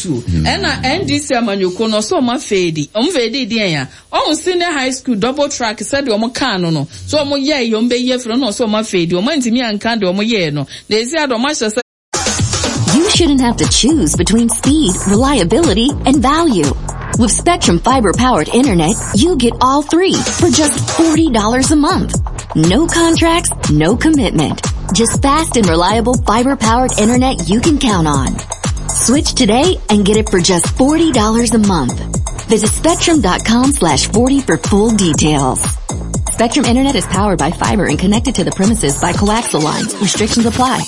afutuo. Ɛna NDC amanyɔkuo no ɔsɛ ɔmo afeedi. Ɔmo feedi deɛn a? Ɔho senior high school double track sɛdeɛ ɔmo kaa no no, sɛ ɔmo yɛɛ yɛ ɔmo bɛyi afiri hɔ na ɔsɛ ɔmo afeedi. Ɔmo antumi anka deɛ ɔmo yɛɛ no. Na ɛsi ara deɛ ɔmo ahyɛ sɛ. You shouldn't have to choose between speed, reliability, and value. With Spectrum Fiber powered internet, you get all three for just $40 a month. No contracts, no commitment. Just fast and reliable fiber powered internet you can count on. Switch today and get it for just $40 a month. Visit spectrum.com slash 40 for full details. Spectrum Internet is powered by fiber and connected to the premises by coaxial lines. Restrictions apply.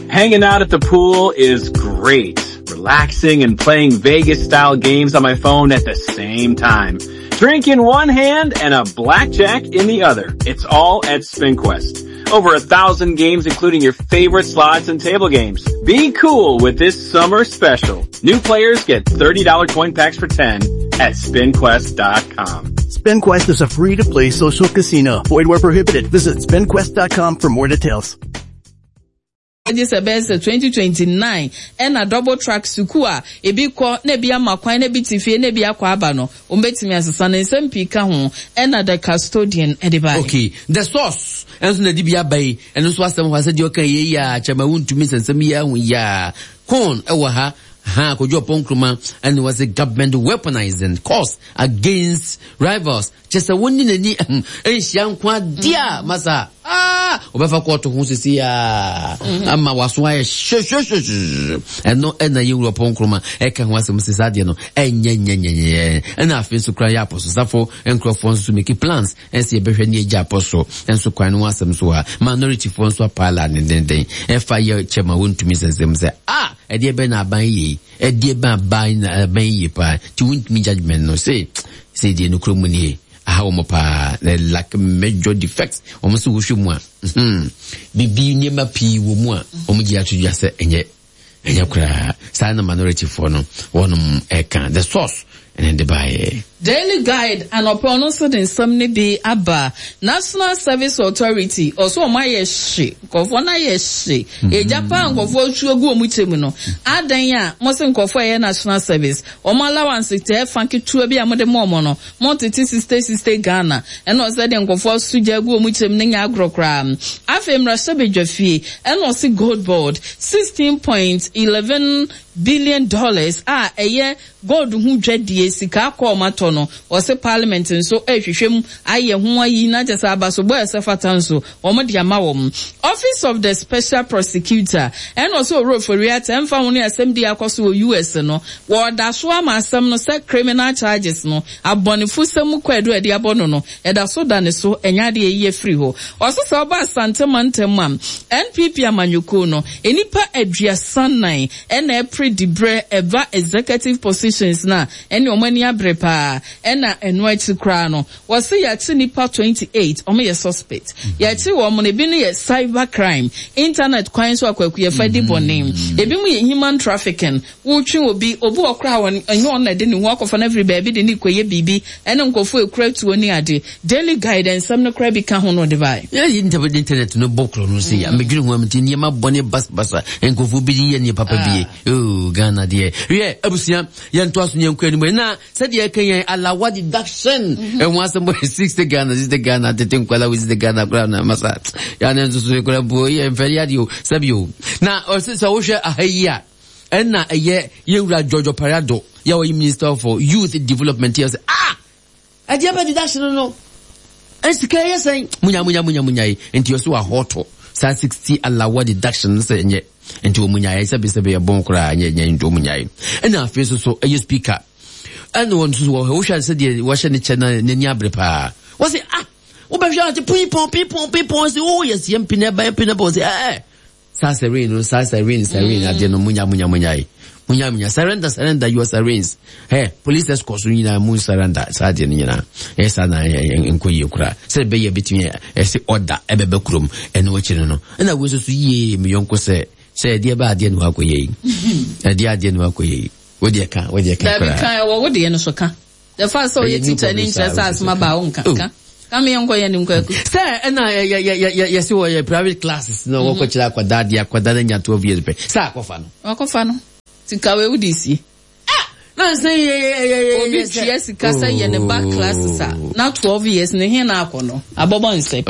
Hanging out at the pool is great. Relaxing and playing Vegas style games on my phone at the same time. Drink in one hand and a blackjack in the other. It's all at SpinQuest. Over 1,000 games including your favorite slots and table games. Be cool with this summer special. New players get $30 coin packs for 10 at spinquest.com. SpinQuest is a free-to-play social casino. Void where prohibited. Visit spinquest.com for more details. Gye sɛ ɛbɛyɛ sɛ 2029 ɛna double track sukuu a ebi kɔ na ebi ama kwan na ebi te fie na ebi akɔ aba no, wɔbɛtumi asesa no. Nsɛm pii ka ho ɛna The Custodian de baeɛ. Okay, The Source nso na ɛde bi aba yi, ɛno nso asɛm hɔ a sɛdeɛ ɔka yei yi a, kyɛma wontumi nsɛnsɛm yi ahu yi a, Corn ɛwɔ ha, ha Kojo Oppong Nkrumah ɛne wɔ se government weaponizing cause against rivals. Kyɛ sɛ wo ne n'ani nhyia nko adeɛ a masa ah wɔbɛfa kɔɔto ho sisi a ama waso ayɛ hwehwehwehwe ɛno ɛna yɛ wura pɔnkroma ɛka ho asɛm sisi adeɛ no ɛnyɛ nyɛ nyɛ nyɛ ɛna afei nso kora yɛ apɔsosafo nkurɔfoɔ nso make plans ɛsɛ yɛbɛhwɛ ne agya apɔso nso kwan no ho asɛm so ha minority foɔ nso apaala ne denden ɛfa yɛ kyɛ ma wɔntumi sɛnsɛm sɛ ah ɛdeɛ bɛn na aban yɛ yi Ɛdeɛ bɛn aban na aban yi yie paa nti wontumi judgement no se sei deɛ nokorɛ mu nie aha wɔn paa na lack major defects wɔn se wohwɛ mu a hmm bibi nneɛma pii wɔ mu a wɔn gye ato dwa sɛ ɛnyɛ ɛnyɛ koraa saa na minority foɔ no wɔnom ɛka the source ɛna de baeɛ. Daily Guide anɔpa ɔno nso de nsɛm no bi aba. National Service Authority ɔso wɔn ayɛ hye, nkurɔfoɔ no ayɛ hye. Egya paa nkurɔfoɔ tuo gu wɔn kyɛ mu no. Adɛn a mo se nkurɔfoɔ a ɛyɛ National Service, wɔn allowance tɛɛ fa ketewa bi a mode ma wɔn no, mo tete 60 60 Ghana. Ɛna ɔsɛ deɛ nkurɔfoɔ aso gya gu wɔn kyɛ mu no nyɛ agorɔ koraa. Afei mmarahyɛbadwafie, ɛna ɔse Gold Board, 16.11 billion dollars a ɛyɛ Gold ho dwadie, sika akɔ ɔmo atɔ no, wɔse parliament nso rehwehwɛ mu ayɛ ho ayi na kyerɛ sɛ abasobɔ a ɛsɛ fata nso wɔn de ama wɔn. Office of the Special Prosecutor ɛna ɔse Owura Ofori-Atta ɛmfa ho ne asɛm di akɔ so wɔ US no, wɔda so ama asɛm no sɛ criminal charges no, abɔnefosɛm mu kwaadu a ɛde abɔ no no, ɛda so da ne so, ɛnyɛ adeɛ a ɛyi afiri hɔ. Ɔse sɛ ɔba Asante mantam mu a, NPP amanyɔkuo no, nnipa 34 ɛna ɛpre dibrɛ ɛba executive positions no a ɛne wɔn ani abere paa ɛna ɛno akyi koraa no wɔse yɛakye nnipa 28 wɔn yɛ suspect yɛakye wɔn no ebi no yɛ cyber crime internet kwan so akwakuyafa di bɔne ebi mo yɛ human trafficking wotwe obi obi wɔ koraa wɔn ɛnyɛ wɔn na ɛde ne ho akɔfa no afiri baabi de ne kɔyɛ biribi ɛne nkurɔfoɔ ekura tuo ne ade Daily Guide nsɛm no koraa bi ka ho na ɔde bae. Yɛ yi ntɛm internet no bɔ korɔ no sɛ ya medwene ho amti nneɛma bɔne basabasa nkurɔfoɔ bi de yɛ nneɛ papa bie oh Ghana deɛ yɛ abusua yɛntoa so yɛnkɔ anim na sɛdeɛ ɛka yɛn alawa deduction ɛho asɛm bɔ 60 Ghana 60 Ghana tete nkwala wo 60 Ghana koraa na masa yɛane nso so koraa mpo yɛ mfɛre adeɛ o sɛbi o na ɔsɛ sɛ wohwɛ aha yi a ɛna ɛyɛ yɛwura George Opare-Addo yɛ ɔyɛ minister for youth development yɛ sɛ ah Ɛdeɛ bɛ deduction no no sika ɛyɛ sɛn munya munya munya munya yi nti ɔso ahɔtɔ saa 60 alawa deduction no sɛ nyɛ nti wɔn munya yɛ sɛbi sɛbi ɛbɔn koraa nyɛ nyɛ nti wɔn munya yi ɛna afei nso so ɛyɛ speaker ɛna wɔn nso wɔ hɔ wohwɛ sɛ deɛ wɔhyɛ ne kyɛ na n'ani abere paa wɔsi ah wobɛhwɛ ate pipɔn pipɔn pipɔn sɛ oh yɛsi mp na ɛba mp na ɛba wɔsi ɛɛ Saa serene no, saa serene, serene mm. adeɛ no, munya, munya, munya yi. Munya, munya. Surrender, surrender your serenes. Hey, police escorts no nyinaa mu surrender saa adeɛ no nyinaa. Ɛyɛ saa na nkɔ yie koraa. Sɛ ɛbɛyɛ bɛtumi ɛsɛ ɔda ɛbɛbɛ kurom ɛno akyi no no. Ɛna wo nso so yie me yɔnko sɛ sɛ ɛdeɛ bɛ adeɛ no akɔ yɛ yi. Ɛdeɛ adeɛ no akɔ yɛ yi. Wo deɛ ka, wo deɛ ka koraa. Dabi ka ɛwɔ wo deɛ no so ka. The fact sɛ ɔyɛ teacher ni nkyerɛ sɛ asɛm aba a wonka. Oh. Ka. Ka me yɛnkɔ yɛn anim kwaku. Sɛ ɛna yɛse wɔyɛ private classes na wɔkɔkyerɛ akwadaa deɛ akwadaa no anya 12 years pɛ sɛ akɔfa no. Wakɔfa no. Sika wei wode sie. Ah! Na sɛ yɛ yɛ yɛ yɛ Obi tua sika sɛ yɛ ne ba classes a na 12 years ne he na akɔ no abɔbɔ nsɛ.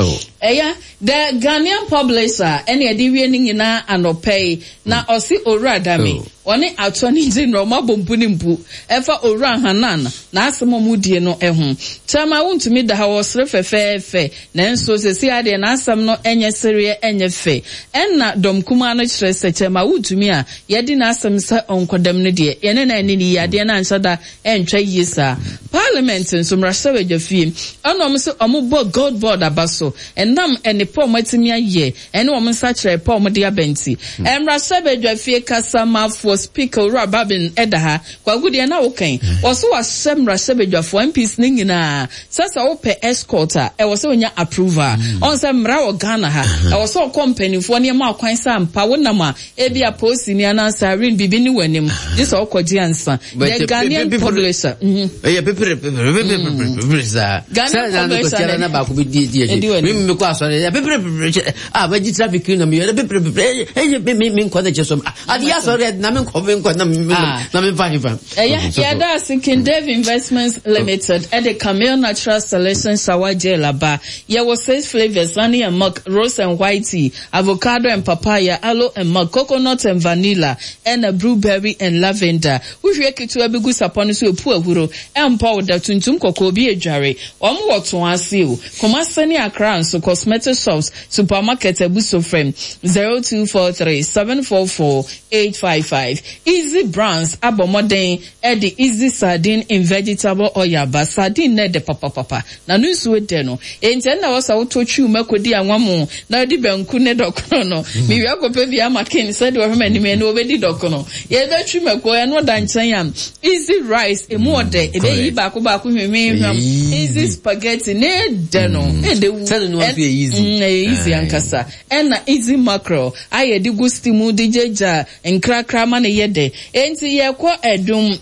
Ɛyɛ The Ghanaian Publisher ɛna ɛde wie ne nyinaa anɔpa yi na ɔse Owura Dame ɔne Attorney General ɔmo abɔ mpu ne mpu ɛfa Owura Hanan n'asɛm a ɔmo die no ho. Chairman wontumi da ha ɔsere fɛfɛɛfɛ Nanso seesei ara deɛ n'asɛm no nyɛ sereɛ nyɛ fɛ. Ɛnna dɔm kumaa no kyerɛ sɛ kyɛm a wontumi a yɛadi n'asɛm sɛ ɔnkɔdam no deɛ, yɛne no anni no yie, adeɛ no anhyɛ da antwa yie saa. Parliament nso, mmarahyɛbadwafie, ɛna wɔn nso wɔbɔ Gold Board aba so ɛnam nnepa a wɔatumi ayɛ ne wɔn nsakyeraɛ pa a wɔde aba nti. Mmarahyɛbadwafie kasamafoɔ, Speaker, Owura Babin da ha. Kwaku deɛ na woka yi, wɔse wahyɛ mmarahyɛbadwafoɔ, MPs, no nyinaa sɛ sɛ wopɛ escort a, ɛwɔ sɛ wonya approval. Ɔhu sɛ mmara wɔ Ghana ha, ɛwɔ sɛ ɔkɔ mpanimfoɔ ne ɛma kwan sɛ ampa wonam a, ebia polisini anaa siren biribi ne w'anim, gye sɛ wokɔgye ansa. The Ghanaian publisher. Ɛyɛ pepere pepere pepere pepere saa. Ghanaian publisher na baako bi di di akyi. Mi mi kɔ asɔre ɛyɛ pepere pepere kyɛ a bɛgye traffic na mi yɛ pepere pepere ɛyɛ mi mi mi nkɔ ne kyɛ so. Ade asɔre na me nkɔ me nkɔ na me na me mfa hefa. Ɛyɛ yɛda ase King Dave Investments Limited ɛde Camille Natural Selection Shower Gel aba. Yɛwɔ six flavours, honey and milk, rose and white tea, avocado and papaya, aloe and milk, coconut and vanilla, ɛna blueberry and lavender. Wohwie ketewa bi gu sapɔ no so epu ahuro, ɛmpɔ wo da, tuntum kɔkɔɔ bi edware. Wɔn wɔ Toase o, Kumasi ne Accra nso, cosmetic shops, Supermarket abu so frɛ 0243 744 855. Easy Brands abɔ mmɔden de Easy Sardine in Vegetable Oil aba. Sardine no ɛdɛ papapapa, na no nsuo dɛ no. Enti ɛnna ɛwɔ sɛ wotɔ twiw mako di anwamoo na wodi banku ne dɔkono no. Mewia kɔpɛ bi ama Ken sɛdeɛ ɔhwɛ m'anim yi, ɛnna ɔbɛdi dɔkono. Yɛbɛtwi mako, ɛno da nkyɛn a, Easy Rice, emu ɔdɛ, ɛbɛyi baako baako hwehwehwam. Easy Spaghetti, ne dɛ no, ɛdɛ wu. Sɛde no nso yɛ easy. Ɛyɛ easy ankasa. Ɛna Easy Mackerel, a yɛde gu stew mu de gyagya nkrakra ma no yɛ dɛ. Enti yɛkɔ Adum,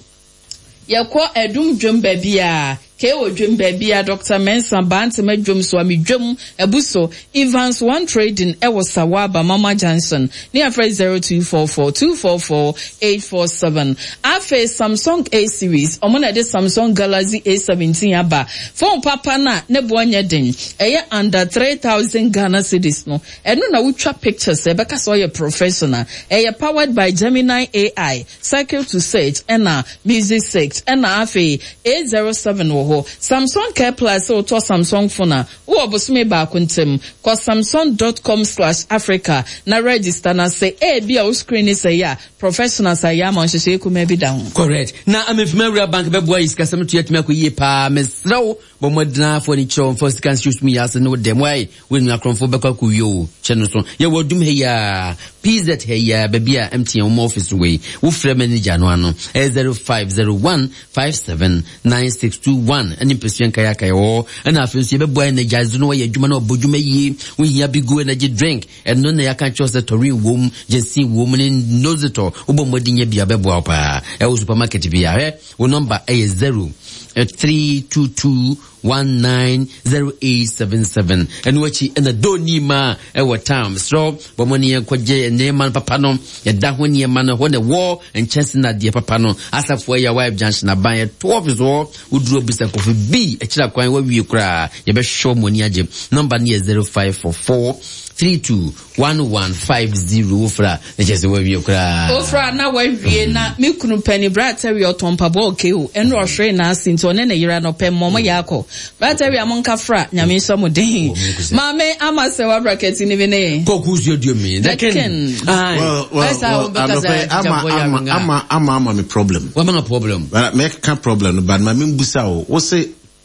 yɛkɔ Adum dwam baabi a, KO dwam baabi a, Doctor Mensah, Bantama dwam, Suame dwam, abu so, Evans One Trading ɛwɔ Sawaba, Mama Junction, ne afrɛ 0244 244 847. Afei Samsung A series, ɔmo na ɛde Samsung Galaxy A17 aba. Phone papa no a ne boɔ nyɛ den, ɛyɛ under 3000 Ghana cedis no, ɛno na wotwa pictures a ɛbɛka sɛ ɔyɛ professional. Ɛyɛ powered by Gemini AI, Circle to Search ɛna Music Search, ɛna afei A07 wɔ hɔ. Samsung Care Plus, sɛ wotɔ Samsung phone a, Wowɔ bosome baako ntam, kɔ samsung dot com slash Africa na register na sɛ ebia wo screen no sɛe a, professionals ayɛ ama wo, nhyehyɛe kumaa bi da ho. Correct. Na Amefima Wura Bank bɛboa yi sikasɛm to yɛatumi akɔ yie paa. Mesrɛ wo, bɔ mmɔden ara fa w'ani kyerɛ wɔn, fa wo sika nhyɛ wo sum yi ase ne wo dɛm. Wai, woannya akorɔmfoɔ bɛkɔ akɔwie o. Hyɛ no so. Yɛwɔ Adum ha yi ara, PZ ha yi ara, baabi a MTN wɔn office wɔ yi. Wofrɛ manager no ano, ɛyɛ 0501 57 9621 ɛne mpɛsua nkae aka yɛwɔ hɔ ɛna afei nso yɛbɛboa energize no wɔyɛ adwuma na ɔbɔ dwuma yie wohia bigo energy drink ɛno na yɛaka kyerɛ sɛ tɔrin wom gyesi wom ne nozitɔ wobɔ mmɔden nyɛ bia bɛboa wo paa ɛwɔ supermarket bia hwɛ wo nɔmba ɛyɛ 0 322 190877 ɛno akyi ɛna doni ma ɛwɔ town mesrɛ bɔ mmɔden yɛn kɔgye nneɛma no papa no yɛda ho nneɛma no hɔ na ɛwɔ nkyɛnse na adeɛ papa no asafo ɛyɛ wife junction aban ɛto office hɔ woduru abisa kɔfo bi akyira kwan wawie koraa yɛbɛhwɛ wɔn ani agye nɔmba no yɛ 0544 32 1150 wofra na kyerɛ sɛ wawie koraa. Wofra na wawie na me kunu pɛni bra atɛwi ɔtɔn mpaboa ɔkɛ o ɛnu ɔhwere n'ase nti ɔne ne yere no pɛ mmɔ mo yɛ akɔ bra atɛwi a mo nka fra nyame nhyɛ mo den maame ama sɛ wabra kɛti ni bi ne. Kɔkɔ usu aduo mi the king. Well well well anɔpɛ ama ama ama ama ama me problem. Wama ma problem. Mɛka problem no but ma me mbusa o wose.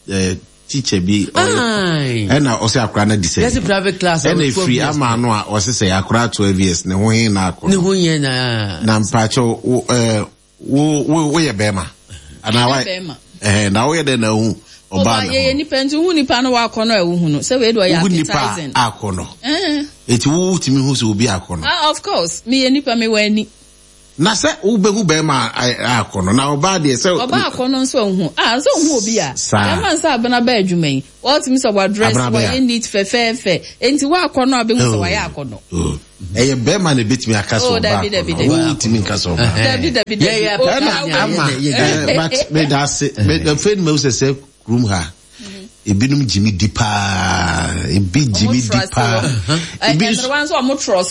Eh, teacher bi ɔyɛ ɛna ɔsɛ akora no di sɛ yɛsi private class ɛna efiri ama ano a ɔsɛ sɛ akora 12 years ne ho he na akɔ ne ho yɛ na na mpakyɛ wo ɛɛ wo wo woyɛ bɛrima anaa wa ɛhɛn na woyɛ dɛ na ehu ɔbaa ne ho yɛyɛ nipa nti hu nipa no wakɔ no a ehu no sɛ wei de ɔyɛ appetizing nipa akɔ no eti wo tumi hu sɛ obi akɔ no ah of course meyɛ nipa mewɔ ani. Na sɛ wobɛhu bɛrima akɔ no, na ɔbaa deɛ sɛ. Ɔbaa akɔ no nso nhu. Ah, nso nhu obi a. Saa. Bɛrima nsa abena bɛ adwuma yi. Wɔtumi sɛ wadress, wayɛ neat fɛfɛɛfɛ. Enti wakɔ no a bɛhu sɛ wayɛ akɔ no. Oh. Ɛyɛ bɛrima na ebetumi aka sɛ ɔbaa akɔ no. Wotumi nka sɛ ɔbaa. Dabi dabi dabi. Ɛna ama but meda ase. Afei ni ma sɛ sɛ kurom ha. Ebinom gye me di paa. Ebi gye me di paa. Ebi nso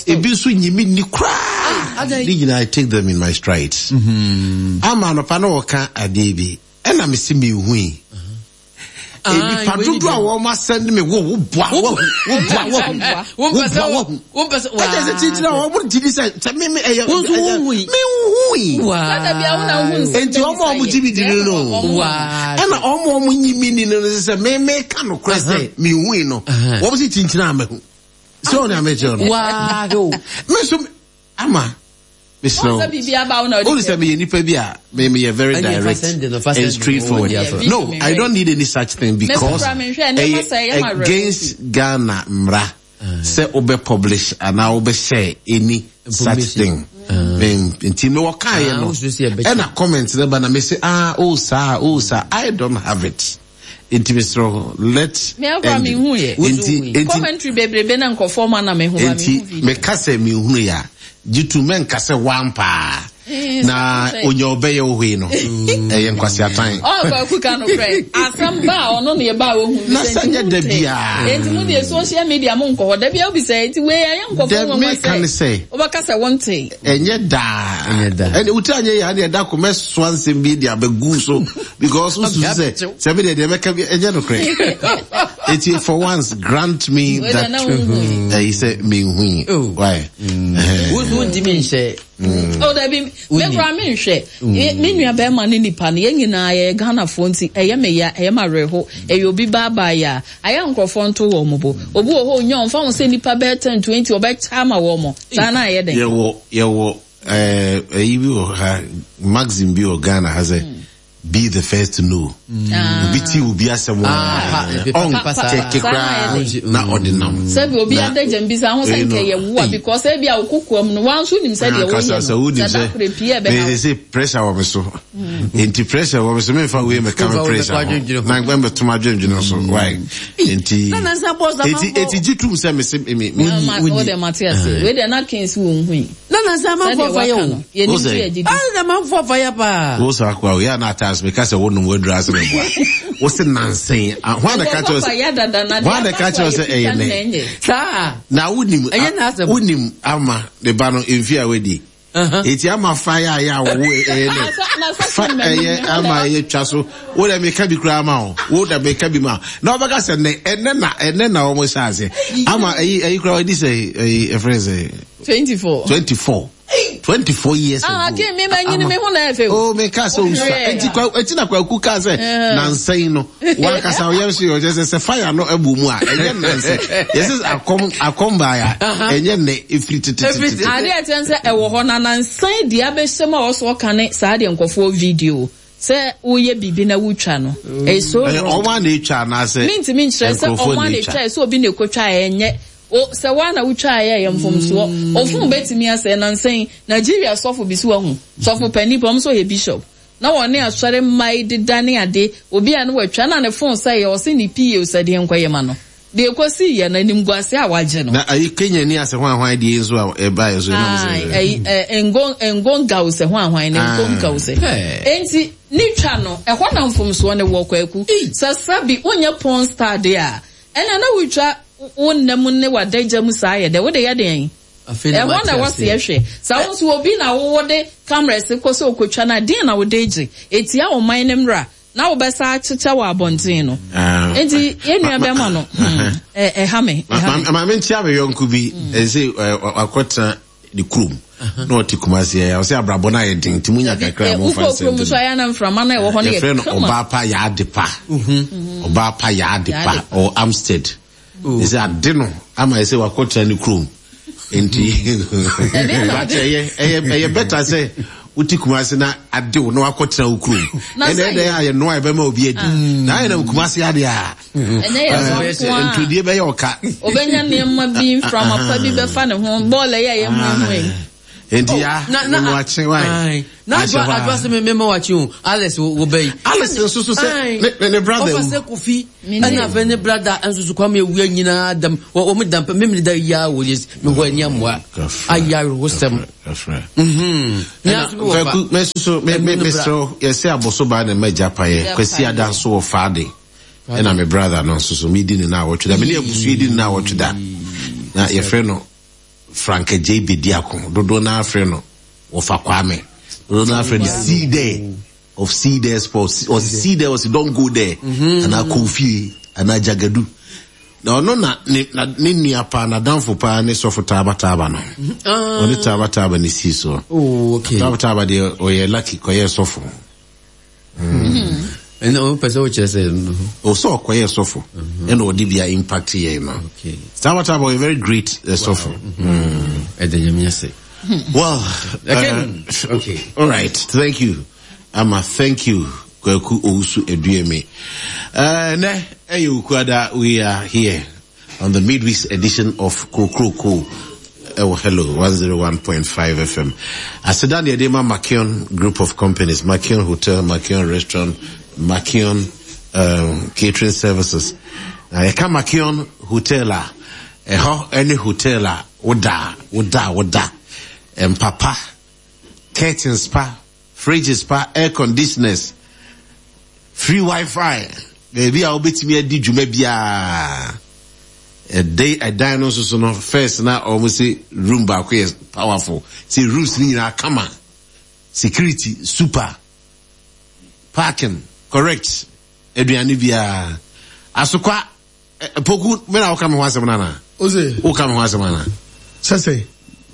ebi nso nye me ni koraa. Ne nyinaa I take them in my strides. Ama anɔpa na wɔka adeɛ bi ɛna me se mehui. Nnipa dodoɔ a wɔn asɛn me wo wo boa wo wo boa wo wo boa wo ɛkyɛ sɛ kyikyiri a wɔn gye di sɛ sɛ me me ɛyɛ ɛyɛ me hui nti wɔn a wɔn gye mi di no no ɛna wɔn a wɔn nyi mi ni no no sɛ me me ka no korɛ sɛ me hui no wɔn si kyikyiri a me hu sɛ wɔn na me kyerɛ no me nso ama mesrɛ wo wone sɛ meyɛ nipa bi a meyɛ very direct and straightforward no I don't need any such thing because ɛyɛ against Ghana mmara sɛ wobɛ publish anaa wobɛ share any such thing nti me wɔkaeɛ no ɛna comment no ba na mese ah oh saa oh saa I don't have it nti mesrɛ wo let Me akora me hu yɛ. Nti nti commentary bebrebe na nkurɔfoɔ ma na me hu ba me hu video. Nti meka sɛ me hunu yɛ a gye tu mɛnka sɛ wampaa eh, na onya ɔbɛyɛ wo hwee no ɛyɛ nkwaseatan. Ɔ kwaku ka no korɛ asɛm ba a ɔno na yɛba a ɔhu na sɛ nyɛ da biara. Enti mo deɛ social media mo nkɔ hɔ da biara wobisa enti wei ɛyɛ nkɔfoɔ nwanwa sɛ wobɛka sɛ wonte. Ɛnyɛ daa. Ɛne wotiri anyɛ yɛ adeɛ da ko mɛsoa nsɛm bi de abɛgu so because wosusu sɛ sɛ me deɛ deɛ mɛka bi ɛnyɛ nokorɛ. Eti for once grant me that ɛyi sɛ menhui. Oh. Why? Wontumi nhyɛ. Oh dabi me kura me nhwɛ me nua bɛrima ne nipa no yɛn nyinaa yɛyɛ Ghanafoɔ nti ɛyɛ me ya ɛyɛ ma awerɛho ɛyɛ obi baabaa yɛ a ayɛ nkurɔfoɔ nto wɔn bo obi wɔ hɔ onya ɔmfa ho sɛ nipa bɛyɛ 10 20 ɔbɛkyɛ ama wɔn saa na ayɛ dɛn. Yɛwɔ yɛwɔ ɛɛ ɛyi bi wɔ ha maxim bi wɔ Ghana ha sɛ be the first to know. Ah. Obi ti obi asɛm Ah, a ɔnkyɛke koraa na ɔde nam. Sɛbi obi adagya mbisa ho sɛ nkɛ yɛ wo a because ebi a okokoa mu no wɔn nso nim sɛ deɛ wɔyɛ no sɛ dakore pii ɛbɛ ha. Sɛ pressure wɔ me so nti pressure wɔ me so memfa wei mɛka me pressure ho na ngbɛn bɛtom adwendwene so why nti eti eti gye tum sɛ mese me me me wo de mate ase wei de na kens wo nhui na na sɛ amanfoɔ fa yɛ o yɛ nim ti yɛ gidi ah na amanfoɔ fa yɛ paa wo sa akwa yɛ na atas meka sɛ wo nom wadura ase meboa wo se nansen hwan na ka kyerɛ sɛ hwan na ka kyerɛ sɛ ɛyɛ nɛ saa na wonim wonim ama ne ba no mfi a wadi Eti ama fa yɛ ayɛ a wɔwo ɛyɛ dɛ fa ɛyɛ ama ɛyɛ twa so wo dɛ meka bi koraa ma wo wo dɛ meka bi ma na ɔbɛka sɛ nɛ ɛnɛ na ɛnɛ na wɔn hyɛ ase ama ɛyi ɛyi koraa ɔdi sɛ ɛyi ɛfrɛ sɛ. 24. 24. 24 years ah, ago. Ah, mi ma nyini mi ho na efe. Oh, me ka sɛ osua. Eti kwa eti na kwaku ka sɛ nansa yi no. Wankasa ɔyɛ nso yɛ ɔkyɛ sɛ sɛ fire no abu mu a ɛnyɛ nansa. Yɛsɛ akɔm akɔm baa ya ɛnyɛ nnɛ efiri tetetete. Adeɛ a ɛkyɛn sɛ ɛwɔ hɔ na nansa yi deɛ abɛhyɛ mu a ɔso ɔka ne saa deɛ nkɔfoɔ video sɛ woyɛ biribi na wotwa no. Ɛyɛ so wrong. Ɔmo a na etwa anaasɛ. Mintimi nkyerɛ sɛ ɔmo a na etwa sɛ obi na ekotwa ɛnyɛ. O sɛ woa na wotwaa yɛ ɛyɛ mfomsoɔ. Ofon bɛtumi asɛe nansa yi Nigeria sɔfo bi so wahu sɔfo panin paa ɔmo sɛ ɔyɛ bishop. Na wɔne asɔre mma yi deda ne ade, obi a na watwa na ne phone sɛeɛ, ɔse ne PA sɛ deɛ nkɔyɛ ma no. Deɛ ɛkɔsiiɛ no, animguaseɛ a wagye no. Na ayi Kenya ni asɛ hwan hwan deɛ yi nso a ɛbaeɛ nso ɛnam sɛ. Ae, ayi ɛ, Ngo, Ngonga o sɛ hwan hwan ne Ngonga o sɛ. Enti, ne twa no, ɛhɔ na mfomsoɔ no wɔ, Kwaku. Sɛ sɛbi wonyɛ porn star deɛ a, ɛnna na wotwa wo nna mu ne w'adagya mu saa yɛ dɛ, wode yɛ deɛn? Ɛhɔ na ɛwɔ sɛ yɛhwɛ. Sɛ wo nso obi na wo wode cameras kɔ sɛ ɔkɔtwa no a, deɛn na wode gye? Ɛtia ɔman no mmara na wobɛsa akyekyɛ wɔ abɔnten no. Enti yɛn nua bɛrima no, hmm, ɛha me, ɛha me. Maame nkyia me yɔnko bi, ɛsɛ wakɔtena ne kurom na ɔte Kumasi ɛ, ɔsɛ abrabɔ no ayɛ den nti munya kakra a momfa Wokɔ kurom nsɛm nso ayɛ na mframa no a ɛwɔ hɔ no yɛ yɛfrɛ no kama. ɔbaa pa yɛ ade pa ɔbaa pa yɛ ade pa ɔwɔ Amstead. Ɛsɛ ade no ama ɛsɛ wakɔtena ne kurom nti but ɛyɛ ɛyɛ ɛyɛ bɛta sɛ wote Kumase na ade wo na wakɔtena wo kurom ɛna ɛdɛ a yɛnoa ɛbɛma obi adi na ayɛ na Kumase ade a ntodie bɛyɛ ɔka obɛnya nneɛma bi mframa pa bi bɛfa ne ho bɔɔl ɛyɛ ɛyɛ huahuai. Enti ya, na na wakye wae. Na adwa adwa sɛ mɛma wakye o. Alex wo bɛ yi. Alex nso so sɛ ne ne brother wu. Ɔfa sɛ Kofi ɛna afɛ ne brother nso so Kwame awia nyinaa dam wɔn dam pɛ mímiri da ya wɔ yɛ mi hɔ ani amoa ayɛ awerɛhosɛm. Ɛna Kwaku mɛ soso mɛ mɛ mesrɛ yɛsɛ aboso baa na mɛ gya pa yɛ Kwasi ada nso wɔ faade ɛna me brother no nso so mi di ne na awɔtwe da me ne abusua di ne na awɔtwe da na yɛfrɛ no Frank Adjei Bediako, dodoɔ no ara frɛ no Wɔfa Kwame, dodoɔ no ara frɛ no See There of See There Sports, ɔse See There ɔse Don't Go There, mm-hmm. anaa Kofie, anaa Jagadu. Na ɔno na ne na ne nua paa n'adamfo paa ne sɔfo Taaba Taaba no. Mm-hmm. Ah. Ɔne Taaba Taaba ne sii soɔ. Oh, okay. Taaba Taaba deɛ ɔyɛ lucky kɔyɛ sɔfo. Ɛna o pɛ sɛ o kyerɛ sɛ. O sɛ ɔkɔyɛ sɔfo ɛna ɔde bi a impact yɛn no. Tabataba ɔyɛ very great eh, sɔfo. Ɛda nyame ase. Well, uh, okay. All right. Thank you. Ama, thank you. Kwaku Owusu Edueme. Uh, ne, ɛyɛ Okuada, we are here. On the midweek edition of Kokroko ɛwɔ Hello 101.5 FM. Aseda na yɛde ma Makion Group of Companies, Makion Hotel, Makion Restaurant, Makion um, Catering Services. Na yɛka Makion Hotel a, ɛhɔ ɛne hotel a woda, woda, woda. Mpapa, curtains pa, fridges pa, air conditioners, free wifi, baabi a wobɛtumi adi dwuma biara. Ɛdɛ ɛdan no nso so no, first na wɔn se room baako yɛ powerful, sɛ rooms no nyinaa kama, security super, parking correct, aduane biara. Asokwa Poku, me na woka me ho asɛm no anaa? Ose. Woka me ho asɛm anaa? Sɛ sɛ.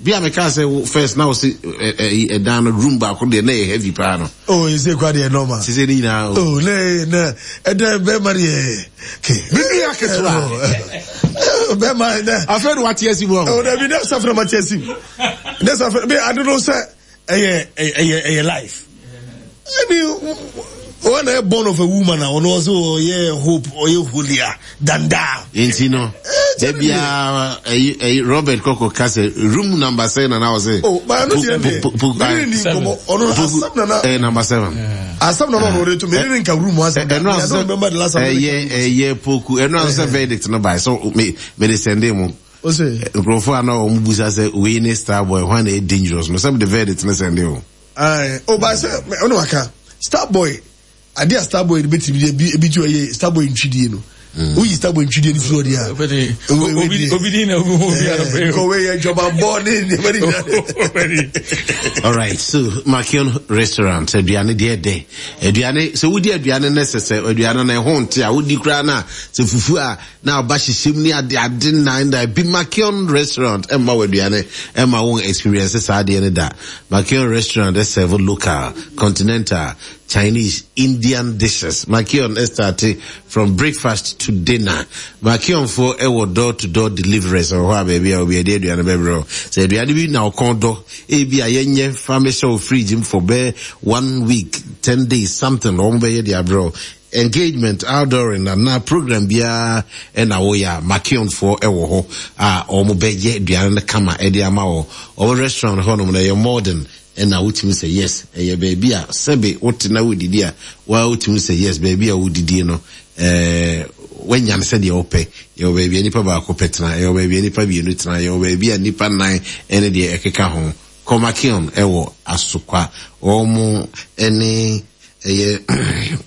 Bi a meka sɛ first na wose ɛdan no room baako deɛ na ɛyɛ heavy paa no. Oh, ɛsɛ kura deɛ normal. Sese ne nyinaa o. Oh, ne ne ɛdɛ bɛrima deɛ. Ke. Me nua ketewa. Bɛrima nɛ. Afei de wate asi mu. Oh, dabi ne safra ma te asi mu. Ne safra bi ade no sɛ. ɛyɛ ɛyɛ ɛyɛ life ɛni wɔn na yɛ born of a woman a ɔno ɔsɛ ɔyɛ hope ɔyɛ holier than thou. nti no dabi a ɛyi ɛyi robert kɔkɔ ka sɛ room number sɛn na na ɔsɛ. o baa no deɛ deɛ mene ni nkɔmɔ ɔno asam nana. ɛyɛ number seven. asam nana ɔno ɔde to mene ni nka room asam. ɛno asɛ ɛyɛ ɛyɛ poku ɛno asɛ verdict no ba so me me de sɛnde mu. Ose. Nkurɔfoɔ a na wɔn busa sɛ wei ne star boy hwan na ɛyɛ dangerous no sɛ de verdict ne sɛnde o. Ayi o ba sɛ ɔno waka star boy adeɛ a star boy betumi de ebi ebi tu ɛyɛ star boy ntwidie no. Mm. Woyi star boy ntwidie no firi ɔdeɛ a. Obi di na obi hu obi anɔpɛ yi. Kɔwe yɛ dwamabɔ ne nneɛma ne nyinaa. All right, so Makion restaurant aduane deɛ dɛ aduane sɛ wodi aduane ne sɛ sɛ aduane na ɛho nte a wodi koraa na sɛ fufu a na aba hyehyɛm ne ade ade nnan da bi Makion restaurant ɛmma wɔ aduane ɛmma wɔn experience saa adeɛ no da Makion restaurant ɛsɛve local continental Chinese Indian dishes Makion ɛstarte from breakfast to dinner Makion foɔ ɛwɔ door to door deliveries wɔ hɔ a baabi a obi ɛde aduane bɛbrɛ wo sɛ aduane bi na ɔkɔn dɔ ebi a yɛnyɛ fa mehyɛ wo fridge mu for bɛɛ one week ten days something wɔn bɛyɛ de abrɛ wo Engagement, outdooring anaa program biara na woyɛ a, Makion foɔ wɔ hɔ a wɔn bɛ yɛ aduane no kama de ama wɔ. Wɔn restaurant hɔ nom no ɛyɛ modern ɛna wotumi sɛ yes, ɛyɛ baabi a sɛbe wote na wodidi a waa wotumi sɛ yes, baabi a wodidie no ɛɛ wanya no sɛdeɛ wopɛ. Yɛwɔ baabi a nipa baako pɛ tena, yɛwɔ baabi a nipa mmienu tena, yɛwɔ baabi a nipa nan ɛne deɛ ɛkeka ho. Kɔ Makion wɔ Asokwa. Wɔn ne ɛyɛ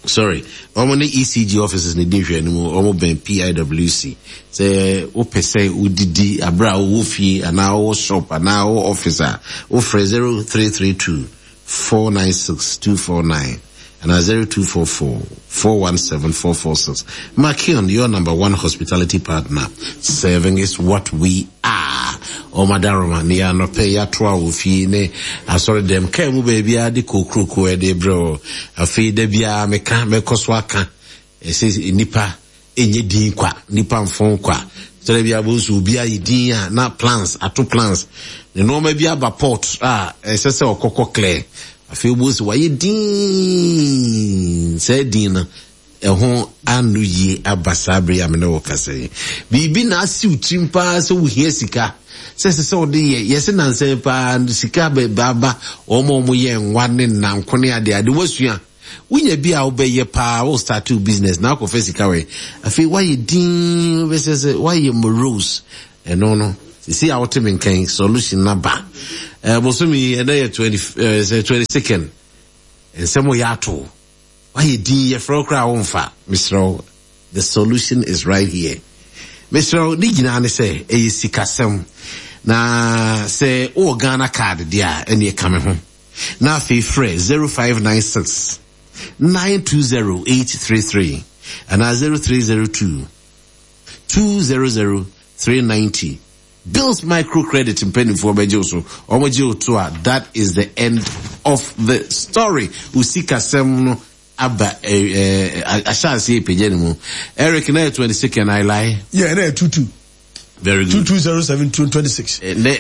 sorry wɔn ne ECG offices na edi nhwɛanim wɔn bɛn PIWC sɛ wopɛ sɛ wodidi abere a wowɔ fie anaa wowɔ shop anaa wowɔ office a wofrɛ 0332 496 249 anaa 0244 417 446 Makion your number one hospitality partner serving is what we are Wɔn adaworoma ne yɛn anɔpɛ yi atoa wɔ fie ne asɔre dɛm kaa mu baabiara de kokuroko ɛde brɛ wɔ. Afei da biara meka mɛkɔ so aka ɛsɛ nnipa ɛnyɛ din kwa nnipa mfon kwa sɛdɛ bi abɔ nso obi ayɛ din a na plans ato plans ne nneɛma bi aba port a ɛsɛ sɛ ɔkɔkɔ clear afei wobɔ nso wayɛ din saa din no. Ɛho anoyie aba saa bere yi a me ne wo kasa yi. Biribi na asi wo tirim paa sɛ wohia sika, sɛ ɛsɛ sɛ wode yɛ. Yɛse nansa yi paa sika bɛba wɔn a wɔyɛ nwa ne nnanko ne ade ade. Woasua. Wonya bi a wobɛyɛ paa, wo start wo business na akɔfa sika wɛ. Afei woayɛ din, wobɛsɛ sɛ woayɛ morose. Ɛno no, sisi a wote me nkan, solution na ba. Eh, bosome yi, ɛnɛ yɛ 20, eh, sɛ 22nd. Nsɛm yɛ ato. Wayɛ din yɛfrɛ wo koraa womfa. Mesrɛ wo, the solution is right here. Mesrɛ wo, ne nyinaa ne sɛ ɛyɛ sikasɛm. Na sɛ wowɔ Ghana card deɛ a, ɛneɛ ka me ho. Na afei frɛ 0596 920 833 anaa 0302 200 390. Bills microcredit mpanimfoɔ bɛgye wo so. Wɔn gye wo to a, that is the end of the story. Wo sikasɛm no aba ɛɛ ahyɛ aseɛ epagya ne mu. Eric na yɛ 22nd, I lie? Yeah, na yɛ 22. Very good. 2207 26. Ne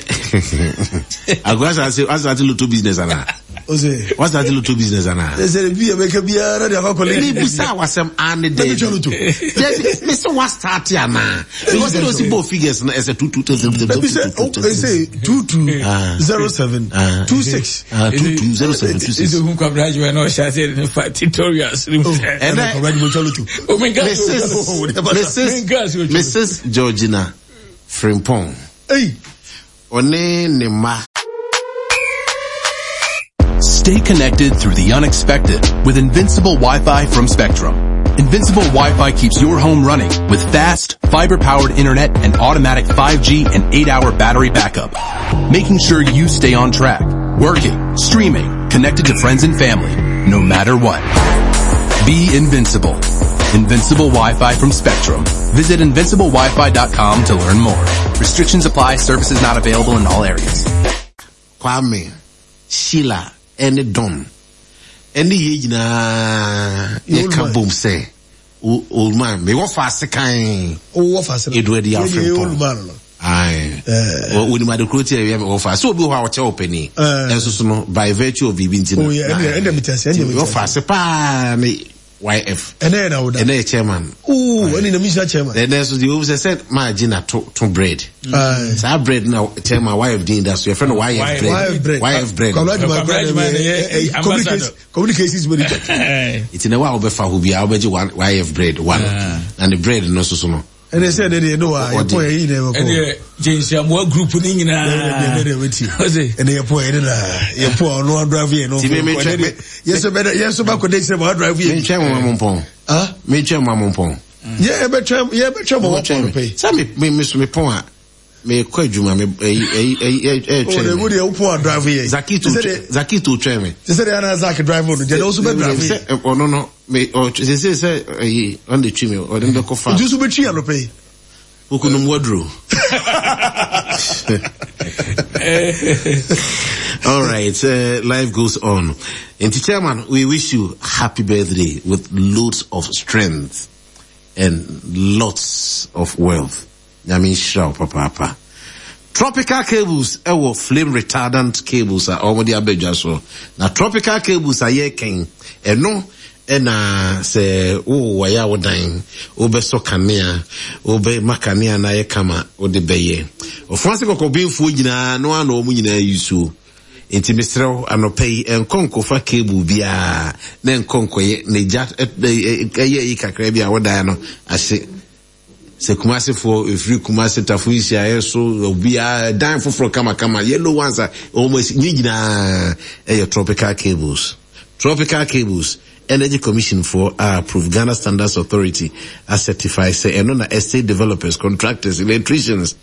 Agora asase asase lotto business ana? Ose. Wasate lotto business ana? Ese bi ebeka biara de akɔkɔ le. Ne bisa wasɛm ane de. Ebi lotto. Me se wa start ana? Because they see both figures na ɛsɛ 2 2 2 2 2 Ebi sɛ ese 2 2 0 7 2 6. 2 2 0 7 2 6. Ese hun kwabra adwuma na ɔhyɛ ase ne fa tutorials. Ɛnɛ Mrs. Mrs. Georgina Frimpong. Hey. Ɔne ne mma. Stay connected through the unexpected with Invincible Wi-Fi from Spectrum. Invincible Wi-Fi keeps your home running with fast, fiber-powered internet and automatic 5G and 8-hour battery backup, making sure you stay on track, working, streaming, connected to friends and family, no matter what. Be invincible. Invincible Wi-Fi from Spectrum. Visit invinciblewifi.com to learn more. Restrictions apply. Services not available in all areas. Kwame, Sheila, ɛne Don ɛne yɛ nyinaa yɛka bom sɛ old man mewɔ faase kan Edward Yaw Frimpong. Aye. Wonim ade koro ti a ɛyɛ wɔ faase obi wɔ hɔ a ɔkyɛ wɔ panin. Ɛnso so no by virtue of biribi nti no. Wɔ faase paa ne YF. Ɛnɛ yɛ na woda. Ɛnɛ yɛ chairman. Ooh, ɛne na misa chairman. Ɛnɛ so deɛ wɔn sɛ sɛ maa gye na to to bread. Saa bread na chairman YF din da so yɛfrɛ no YF bread. YF bread. YF bread. Kwabena Juma bread. Communications manager. Nti na wa a wɔbɛfa hɔ biara wɔbɛgye YF bread one na ne bread no nso so no. Ɛnɛ sɛ ɛnɛ deɛ no wa yɛpɔ yɛ yi na ɛbɛkɔ. Ɛnɛ James Amoah group ne nyinaa. Ɛnɛ deɛ bɛti. Ɛnɛ yɛpɔ yɛ ne na yɛpɔ a ɔno adrive yɛ no. Ti mi mi twɛ yɛsɛ bɛ yɛsɛ bɛ akɔ de kyerɛ ma adrive yɛ. Mi twɛ mo ma mo mpɔn. Mi twɛ mo ma mo mpɔn. Yɛ bɛ twɛ yɛ bɛ twɛ mo wɔ pɔn pɛ. Sɛ mi mi mi so mi pɔn a mi kɔ adwuma mi ɛyi ɛyi ɛyi ɛtwɛ mi. O de o pɔn a drive yɛ. Zakito Zakito twɛ mi. Sɛ de ana Zak drive no jɛ de o so bɛ drive yɛ. Sɛ ɔno no mi ɔ sɛ sɛ ɛyi ɔno de twi mi ɔde mi bɛ kɔ fa. Nti so bɛ twi anɔpɛ yi. Okunum waduro. All right, life goes on. And chairman, we wish you happy birthday with loads of strength and lots of wealth. Nyame nhyira wo papaapa. Tropical cables ɛwɔ flame retardant cables a wɔde aba dwa so. Na tropical cables a yɛkɛn ɛno ɛna sɛ wowɔ yɛ a wodan wobɛsɔ kanea wobɛma kanea no ayɛ kama wode bɛyɛ. Ɔfo ase kɔkɔbenfoɔ nyinaa no ano wɔn nyinaa yi so. Nti mesrɛ wo anɔpa yi nkɔ nkɔfa cable biara na nkɔ nkɔyɛ na gya ɛyɛ yi kakra bi a wodan no ahye. Sɛ Kumasi foɔ ɛfiri Kumasi tafo nhyiaeɛ so obiara dan foforɔ kamakama yellow ones a wɔn asi ne nyinaa ɛyɛ tropical cables. Tropical cables Energy Commission foɔ a approve Ghana Standards Authority a certify sɛ ɛno na estate developers, contractors, electricians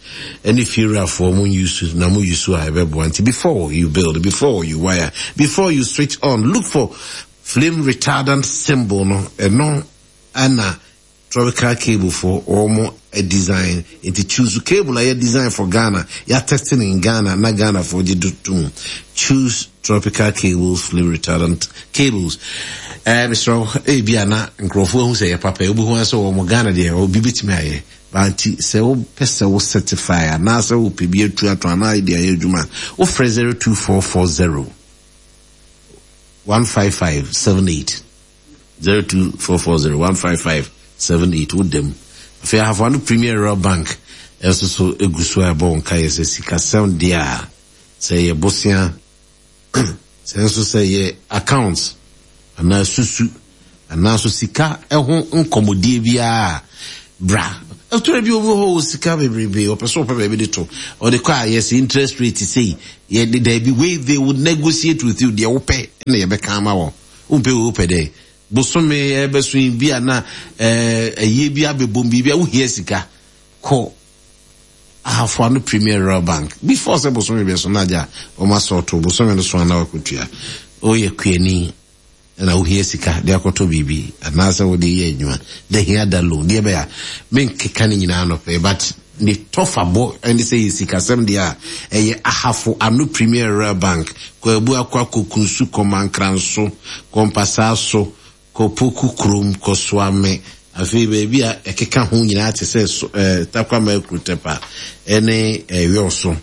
ɛne fiewurafoɔ mo use na mo use a ɛbɛboa. Nti before you build, before you wire, before you switch on, look for flame retardant symbol no ɛno ɛna Tropical cable fo wɔn design nti choose cable a yɛ design for Ghana yɛ testing in Ghana na Ghana fo gye do tum choose tropical cables flame retardant cables ɛɛ mesrɛ ebi a na nkurɔfoɔ ahu sɛ yɛ papa ebi ho asɛ wɔn Ghana deɛ obi betumi ayɛ banti sɛ wopɛ sɛ wo certify anaasɛ wopɛ bi atu ato anaa de ayɛ adwuma wofrɛ 02440 15578. 02440 155 78 woda mu. Afei Ahafo Ano Premier Rural Bank nso so egu so a ɛbɔ wo nkaeɛ sɛ sikasɛm deɛ a sɛ ɛyɛ bosea sɛ nso sɛ ɛyɛ account anaa susu anaa nso sika ho nkɔmmɔdie biara a bra. Ɛtɔrɔ bi obi wɔ hɔ wɔ sika bebrebe ɔpɛ sɛ ɔpɛ baabi de to ɔde kɔ a yɛsɛ interest rate sei yɛde daabi wei they will negotiate with you deɛ wopɛ na yɛbɛka ama wɔn. Wompɛ wei wopɛ dɛn? Bosome ɛbɛso yi bi a na ɛyie bi abɛbom biribi a wohia sika kɔ Ahafo Ano Premier Rural Bank before sɛ bosome bɛso na agya wɔn asɔɔto bosome no so a na wakɔtua. Woyɛ kuani na wohia sika de akɔtɔ biribi anaasɛ wode yɛ adwuma da hia da loan deɛ bɛyɛ a menkeka ne nyinaa nɔpɛ but Ne tɔfabɔ ne sɛ yɛ sikasɛm deɛ a, ɛyɛ Ahafo Ano Premier Rural Bank, kɔ Abuakwa, kɔ Kunsu, kɔ Mankranso, kɔ Mpasaaso, kɔ Poku Kurom, kɔ Soame, afei baabi a ɛkeka ho nyinaa te sɛ so, eh, Tarkwa Maakuru Tɛpa ne eh, Wiɔso.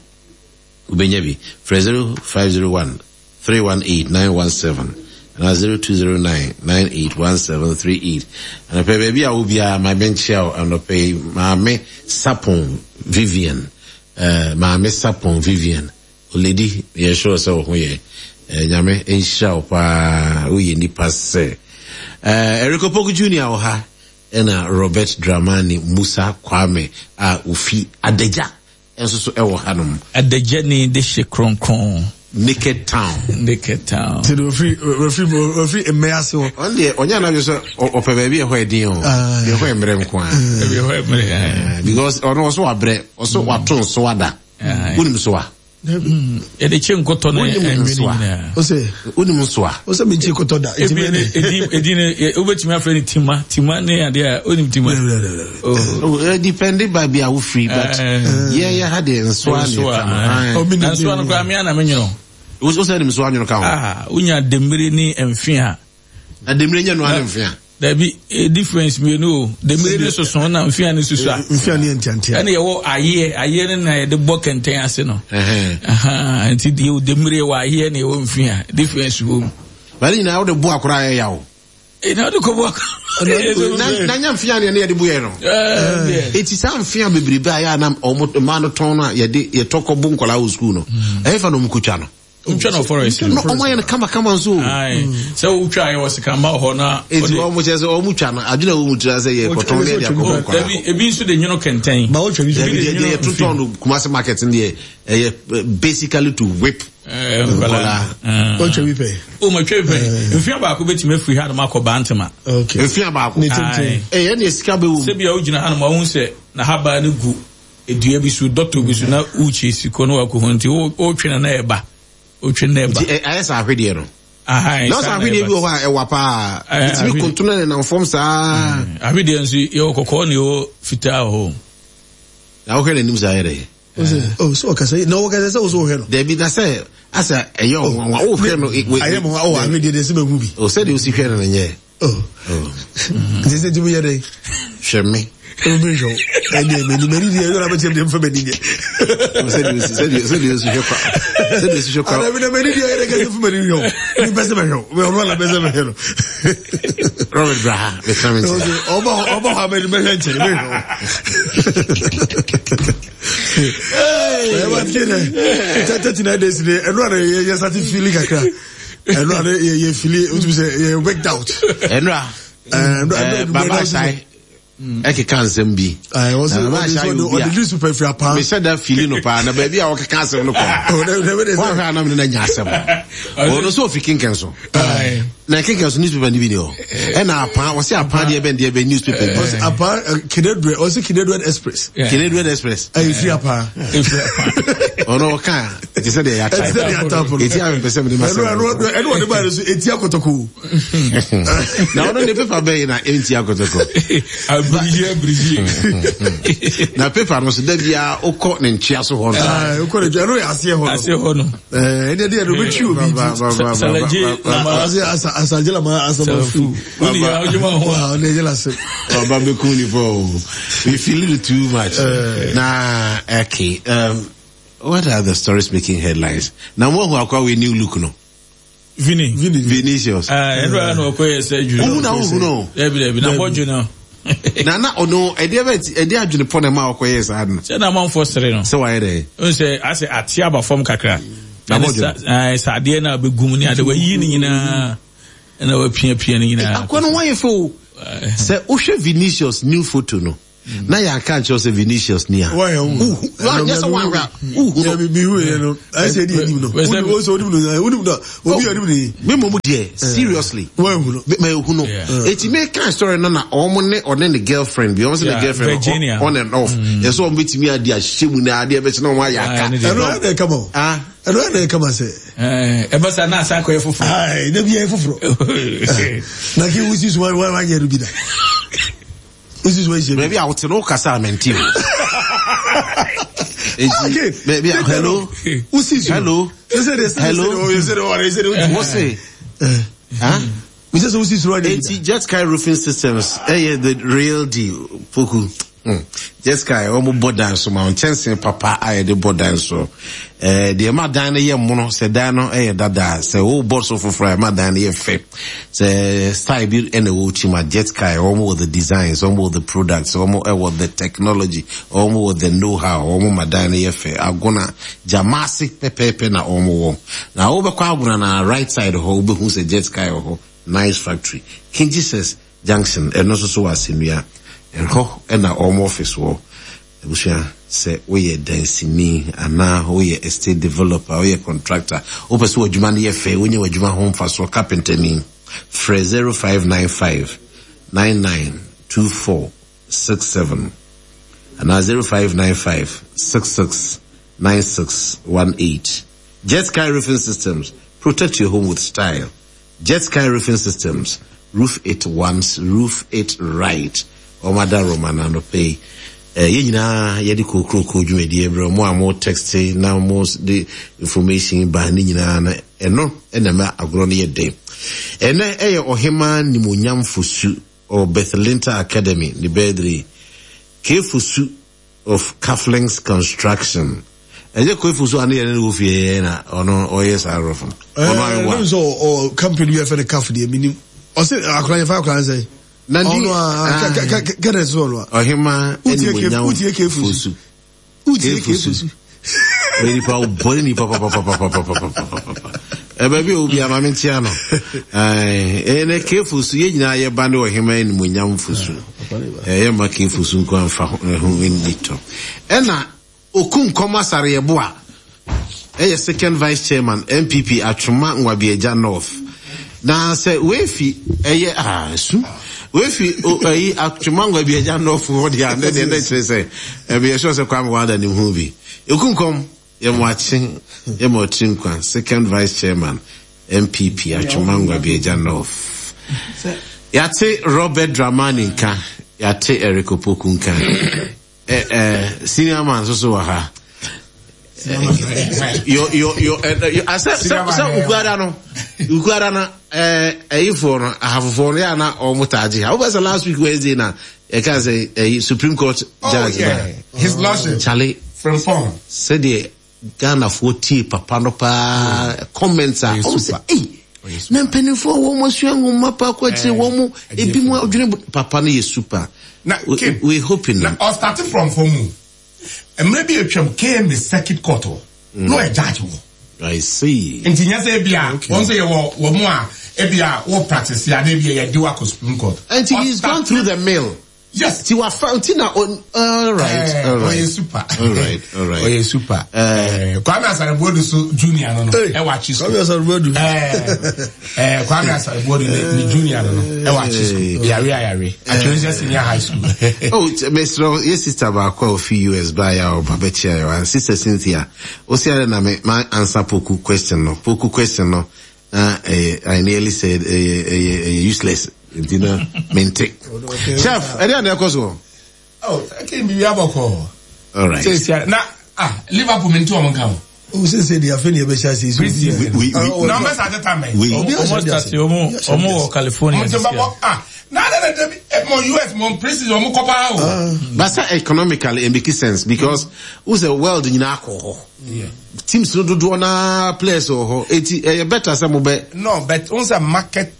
Wobɛnya bi. Frɛ 0501 318 917 anaa 0209 981738. Anɔpɛ baabi a wɔ biara ma menkyea wo anɔpɛ yi. Maame Sapon Vivian, eh, Maame Sapon Vivian, Oledi, meyɛ sure sɛ wo ho yɛ. Eh, Nyame nhyira wo paa, woyɛ nipa sɛ. Eh, Eric Opoku Junior wɔ ha, ɛna Robert Dramani Musa Kwame a ofi Adagya nso so wɔ hanom. Adagyani de hye kronkron. Naked town. Naked town. Ti de ofiri ofiri ofiri mmea ase hɔ. Ɔn deɛ ɔnyɛ anadwo sɛ ɔpɛ baabi ɛhɔ ɛdin o. Deɛ ɛhɔ mmerɛ nko ara. Baabi ɛhɔ mmerɛ. Because ɔno ɔso wabrɛ ɔso wato nso ada. Wonim so a. Yɛde kye nkotɔ ne Wonim ɛnwene nsoa. nyinaa. Ose. Wonim nsoa. Ose mi nkye kotɔ da. Ebi ne edin edin ne wobɛtumi afrɛ no tima tima ne adeɛ a wonim tima. Oh, eh, depende baabi a wofiri but yɛ yɛ ha deɛ nsoa ne Nsoa, ɛka no. eh. Na nsoa no koraa me ana menwono. Wo sɛ nim nsoa nwono ka ho. Ah, wonya demmire ne mfe a. Na demmire nyɛ noa ne mfe a. Dabi, eh, difference mmienu o. Demmire ne soso na mfe a ne susu a. Mfe a ne yɛ ntiantia. Ɛna yɛwɔ ayeɛ, ayeɛ no na yɛde bɔ kɛntɛn ase no. Nti deɛ demmire wɔ ayeɛ na yɛwɔ mfe a, difference wɔ mu. Bari nyinaa wode bo akora ayɛ yaw. Na wode kɔ bo akora. Na nya mfe a ne yɛde bo yɛ no. Eti saa mfe a bebrebe a yɛ a na wɔn mmaa no tɔn no a yɛde yɛtɔ kɔ bo nkwadaa wɔ sukuu no. Ɛyɛ fa na wɔn kotwa no. Wotwa no forest no. Ɔmo ayɛ no kama kama nso. Sɛ wotwa ayɛ wɔ sekanba wɔ hɔ na. Eti wɔn kyerɛ sɛ wɔn twa no adwene a wɔn mu tira sɛ yɛ kɔtɔn ne yɛde akɔbɔ nkwadaa. Dabi ebi nso de nwono kɛntɛn. Ba wotwa bi Dabi deɛ deɛ yɛtotɔn no Kumasi market no deɛ ɛyɛ basically to whip. Nkwadaa. Wotwa bi pɛ. O ma twa bi pɛ. Mfia baako betumi afiri ha nom akɔ Bantama. Okay. Mfia baako. Ne tenten. Ɛyɛ ne sika bɛ wɔ mu. Sɛbi a wogyina ha nom ahun sɛ n'ahaban no gu dua bi so dɔtɔ bi so na wokyi si kɔ na wakɔ ho nti wotwe no na ɛba wotwe no na ɛba. Nti ayɛ sɛ ahwedeɛ no. Na sɛ ahwedeɛ bi wɔ hɔ a ɛwa paa ɛtumi kontono ne nam fam saa. Ahwedeɛ nso yɛwɔ kɔkɔɔ na yɛwɔ fitaa wɔ hɔ. Na wohwɛ n'anim saa yɛ dɛ. Oh, so ɔkasa na ɔkasa sɛ wosɛ wohwɛ no. Dabi na sɛ asɛ ɛyɛ ɔnwanwa wohwɛ no. Ayɛ mo hɔ ahwedeɛ deɛ sɛ mahu bi. O sɛdeɛ wosi hwɛ no no nyɛ. Oh. Nti sɛ tumi yɛ dɛn? Hwɛ me. Ɛmu bi nhwɛ wo. Ɛdeɛ m'ani m'ani deɛ ɛyɛ abɛkyɛm deɛ mfa m'ani deɛ. Sɛdeɛ osi sɛdeɛ sɛdeɛ osi hwɛ kwa sɛdeɛ osi hwɛ kwa. Adabi na m'ani deɛ ɛyɛ dɛ kɛse fa m'ani hwɛ wo. Mi pɛ sɛ mɛhwɛ wo. Mɛ ɔno ala pɛ sɛ mɛhwɛ no. Robert bra ha bɛtena me nkyɛn. Ɔba hɔ ɔba hɔ a m'ani mɛhwɛ nkyɛn mɛhwɛ wo. Ɛyɛ wa tie dɛ. 39 days de ɛno ara yɛ yɛ sati fili kakra. ɛno ade yɛ yɛ fili o tumi sɛ yɛ worked out. ɛnura ɛɛ baba asae ɛkeka nsɛm bi. na baba asae yɛ obi a ɔde newspaper firi apaa. mesɛ da fili no paa na baabi a ɔkeka asɛm no kɔ. wɔn ahwɛ anam ne na nya asɛm. ɔno nso ofi kinkɛn so. na kinkɛn so newspaper ni bi ni hɔ. ɛna apaa ɔsɛ apaa deɛ bɛn deɛ bɛn newspaper bi. ɔsɛ apaa kinedre ɔsɛ kinedre express. kinedre express. ɛyɛ firi apaa. efiri apaa. ɔno ɔka. Ɛte sɛ deɛ yɛatae. Ɛte sɛ deɛ yɛatae no. Eti a mepɛ sɛ mede ma sɛ. Ɛno ɛno ɔde baa no so eti akɔtɔkɔ. Na ɔno ne pepa bɛyi na enti akɔtɔkɔ. Abirigye abirigye. Na pepa no so da biara wokɔ ne nkyea so hɔ no. Wokɔ ne nkyea ɛno yɛ aseɛ hɔ no. Aseɛ hɔ no. Ɛdeɛ deɛ no obɛtwi obi ti. Salagye lama. Asalagye lama asamafu. Wone yɛ ɔgye ma ho a. Ɔne yɛ lase. Ɔba bɛkum nipa o. We feel it too much. Na okay. What are the stories making headlines? Na mo ahu akwa wei new look no. Vini. Vini. Vinicius. Ɛnu ara na ɔkɔ yɛ surgery. Ohun na ohun no. Dabi dabi na bɔdwe no. Na na ɔno ɛdeɛ bɛ ɛdeɛ adwene pɔ na ɛma ɔkɔ yɛ saa no. Sɛ na amanfoɔ sere no. Sɛ wayɛ dɛ. N sɛ asɛ ate aba fam kakra. Na bɔdwe no. Sɛ adeɛ na abɛgu mu ne ade wayi ne nyinaa ɛna wapiapia ne nyinaa. Akɔ no wayɛ fɛ o. Sɛ wohwɛ Vinicius new photo no. na yɛn aka nkyerɛ sɛ Vinicius ni a. Nyɛ sɛ wɔn ahwɛ wohu no. Mi hu yɛ no ayɛ sɛ ɛdi anim no. Wo sɛ onim no onim no obi anim no yi. Mi mɔmu deɛ seriously. Wɔn ehu no. Ma ehu no. Eti mi kan story no na wɔn ne ɔne ne girlfriend bi wɔn sɛ ne girlfriend on and off. Yɛ sɛ wɔn betumi adi ahyɛ mu na adeɛ bɛkyɛ na wɔn ayɛ aka. Ɛno ɛna ɛka ma o. Ɛno ɛna ɛka ma sɛ. Ɛbɛ sa na asa akɔyɛ foforɔ. Ayi ne bi yɛ foforɔ. Na kí wusi suma wa wa nyɛ bi da. Baabi a wote no wokasa a mente o. Enti baabi a hello hello hello wose huh? Enti Jet Sky Roofing Systems ɛyɛ the real deal poku. Hmm. Jet Sky wɔn bɔ dan so ma nkyɛnse papa a yɛde bɔ dan so. Ɛɛ deɛ ɛma dan no yɛ mono sɛ dan no yɛ dada sɛ wobɔ so foforɔ a ɛma dan no yɛ fɛ. Sɛ style bi na ɛwɔ wo tirim a, Jetkai, wɔn wɔ the designs, wɔn wɔ the products, wɔn wɔ the technology, wɔn wɔ the know how, wɔn ma dan no yɛ fɛ. Agona, Gyamaase pɛpɛɛpɛ na wɔn wɔ. Na wobɛkɔ Agona na right side hɔ, wobɛhu sɛ Jetkai wɔ hɔ, nice factory. King Jesus Junction, ɛno nso so wɔ Asennua, ɛhɔ na wɔn office wɔ. Abusua, sɛ woyɛ dansini anaa woyɛ estate developer, woyɛ contractor, wopɛ sɛ w'adwuma no yɛ fɛ, wonya w'adwuma ho mfasoɔ, carpenterni, frɛ 0595 9924 67 anaa 0595 66 9618. Jet Sky Roofing Systems, protect your home with style. Jet Sky Roofing Systems, roof it once, roof it right. Wɔn ada Roma no anɔpa yi. Eh, yɛn nyinaa yɛde kokuroko dwumadie brɛ mo a mo text na mo de information ba ne nyinaa no ɛno ɛna ɛma agorɔ no yɛ den. Ɛnɛ ɛyɛ ɔhemaa nimonyamfo su ɔ Bethlinta Academy ne birthday. Kefo su of Cufflinks Construction. Ɛnyɛ Kwefu so a ne yɛne no wɔ fie yɛ na ɔno ɔyɛ saa rɔfo no. Ɔno ayɛ wa. Ɛɛ sɛ ɔ company bi yɛfɛ no Cuff deɛ menim. Ɔse akora yɛfa akora nsɛn. Na di ɔno a kɛdɛ so ɔno a. Ɔhema ɛnimonyam wotie Kefu su. Wotie Kefu su. Ɔyɛ nipa ɔbɔne nipa papapapapapapapa. Ɛbaabi a obi ama me nkyea no. Ɛnɛ Kefu su yɛn nyinaa yɛba ne ɔhema animuonyam fosu. Ɛyɛ ma Kefu su nko amfa ho nni tɔ. Ɛna Okunkom Asare-Yeboah ɛyɛ second vice chairman NPP Atwoma Nwabiagya North. Na sɛ wefi ɛyɛ ah su wefi ɛyi Atwoma Nwabiagya North hɔ deɛ a ne deɛ ne kyerɛ sɛ ɛbi ɛsɛ sɛ Kwame Wada ne ho bi. Okunkom yɛ mo akye yɛ mo ɔtiri nkwa second vice chairman NPP Atwoma Nwabiagya North. Yɛate Robert Dramani nka, yɛate Eric Opoku nka. Eh, eh, senior man nso so wɔ ha. Yo, yo, yo, eh, yo, asɛ, sɛ, sɛ ukuada no, ukuada no, eh, ɛyifoɔ no, ahafofoɔ no, yɛ ana wɔn taa gye ha. Wobɛ sɛ last week Wednesday na, yɛka sɛ, ɛyi, Supreme Court oh, judge yeah. na. His lordship. Charlie. Frimpong. Sɛdeɛ Ghanafoɔ tie papa no paa mm. comments a, wɔn sɛ, ei, na mpanimfoɔ wɔn asua nwoma pa kɔ akyire wɔn mu ebi mu adwene papa no yɛ super. Na we, we hoping. Na ɔstart from fam mu. Mmerɛ bi atwam KMA circuit court hɔ. Mm. Na ɔyɛ judge wɔ. I see. Nti nyɛ sɛ ebi a wɔn nso yɛ wɔ wɔn mu a ebi a wɔ practice ya na ebi a yɛ de wakɔ Supreme Court. Nti he is gone through the mill. Yes. Ti wafa nti na all right eh, all right. Ɔyɛ super. All right all right. Ɔyɛ super. Eh, Kwame Asare Boadu so junior no no. Ɛwɔ akyi school. Kwame Asare Boadu. Eh, Kwame Asare Boadu ne junior no no. Ɛwɔ akyi school. Yare ayare. Atwere senior high school. Oh, mesrɛ yɛ sister baako a ofi US baa yɛ a ɔba bɛkyia yɛ wa. Sister Cynthia. Osi ara na me ma answer poku question no. Poku question no. Na ɛyɛ I nearly said ɛyɛ ɛyɛ ɛyɛ useless nti na mente. Chef, ɛdeɛ na ɛkɔ soɔ? Oh, ɛkɛ mi wia bɔkɔ. All right. Sɛ na ah Liverpool mi nti wɔn nka o. O sɛ sɛ deɛ afei ne yɛbɛhyɛ ase yi. Pre-season. Na ɔmo bɛ start time bɛn? Ɔmo start ɔmo ɔmo wɔ California. Ɔmo ti bɛ bɔ ah na na na dabi mo US mo pre-season ɔmo kɔ paa o. But sɛ economically it make sense because o sɛ world nyinaa kɔ hɔ. Teams no dodoɔ naa players wɔ hɔ eti ɛyɛ better sɛ mo bɛ. No but n sɛ market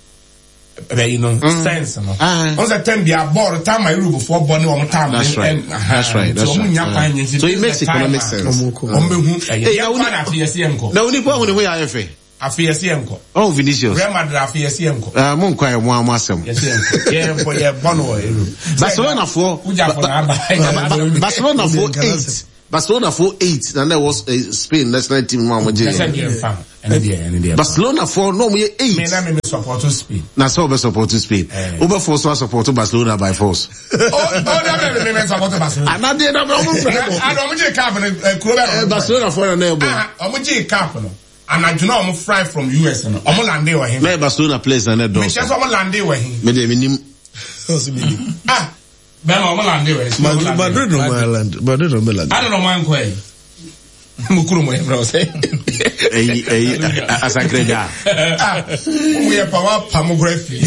bɛyi no mm. sense no ah. n sɛ tɛm bia bɔɔl time a Europe foɔ bɔ ne wɔn time that's right that's right that's right wɔn nya kwan nyɛ so it makes economic sense wɔn bɛ hu ɛyɛ yɛ kwan afi yɛ si yɛ nkɔ na onipa ho ne ho yɛ ayɛ fɛ afi yɛ si yɛ nkɔ oh Vinicius Real Madrid afi yɛ si yɛ nkɔ ɛɛ mo nkɔ yɛ mo amu asɛm yɛ si yɛ nkɔ yɛ nkɔ yɛ bɔ no wɔ Europe Barcelona foɔ Barcelona foɔ eight Barcelona foɔ eight na na ɛwɔ eh, Spain national team mu a wɔn gye yɛ. Barcelona foɔ na wɔn yɛ eight. Mi na mi mi support Spain. Na sɛ ɔbɛ support Spain. Eh. Wobɛ force wa support Barcelona by force. O o na mi mi mi support Barcelona. Anadeɛ na ɔmo fɛ bɔ. Ana ɔmo gye cup no kuro bɛ. Barcelona foɔ na na ɛbɔ. Ɔmo gye cup no. Anadwo na ɔmo fly from US no ɔmo lande wɔ he. Na yɛ Barcelona players na na ɛdɔɔso. Mi kyɛ sɛ ɔmo lande wɔ he. Mi deɛ mi nim. Ah. Bɛma ɔmo lande wɛ. Madrid Madrid no ma land Madrid no ma land. Ada na ɔmo ankɔ yi. Mo kuro mo yɛ fɛ ɔsɛ. Eyi eyi asakrɛgya. Ah, mo yɛ pa wa pa mo kura fi.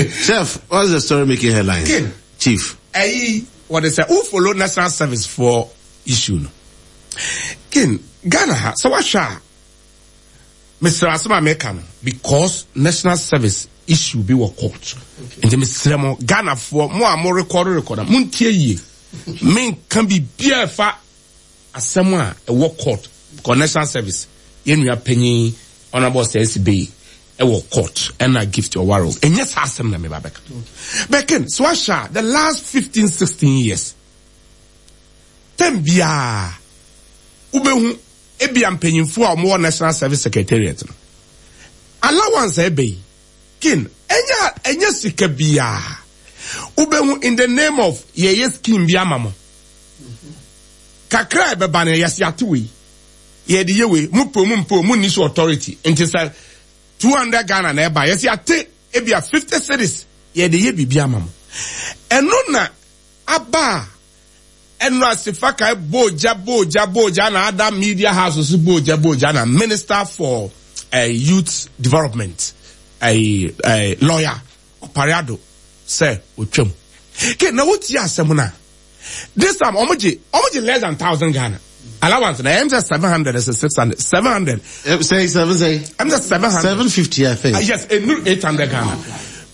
Chef, what's the story making headlines? King. Chief. Eyi wɔde sɛ o follow national service for issue no. King Ghana ha sɛ wahwɛ a. Mesrɛ asɛm a meka no because national service issue bi wɔ court nti mesrɛ mo Ghanafoɔ mo a mo record record a montie yie menka biribiara ɛfa asɛm a ɛwɔ court because national service yɛn nua panyin honorable Sɛnsi Bey ɛwɔ court ɛna gift ɔware ɛnyɛ saa asɛm na meba bɛka bɛken so ahyɛ a the last 15 16 years tɛm biara wobɛhu Ebia mpanyimfo a wɔwɔ National Service Secretariat no allowance a ɛba yi, kin, ɛnyɛ ɛnyɛ sika biara. Wobɛhu in the name of yɛyɛ scheme bi ama mo. Kakra a ɛbɛba no yɛsi ate wei, yɛde yɛ wei, mo pɛ o mo mpɛ o, mo nni so authority. Nti sɛ 200 Ghana na ɛba, yɛsi ate ebia 50 cedis, yɛde yɛ biribi ama mo. Ɛno na aba a Ɛno ase fakae bɔɔ gya bɔɔ gya bɔɔ gya na ada media house nso bɔɔ gya bɔɔ gya na minister for uh, youth development uh, uh, lawyer Opare Addo sɛ otwam. Ke na wotie asɛm no a this time ɔmo gye ɔmo gye less than thousand Ghana allowance na ɛm sɛ 700 ɛsɛ 600 700. Say seven say. Ɛm sɛ 700. 750 I think. Yes, enu 800 Ghana.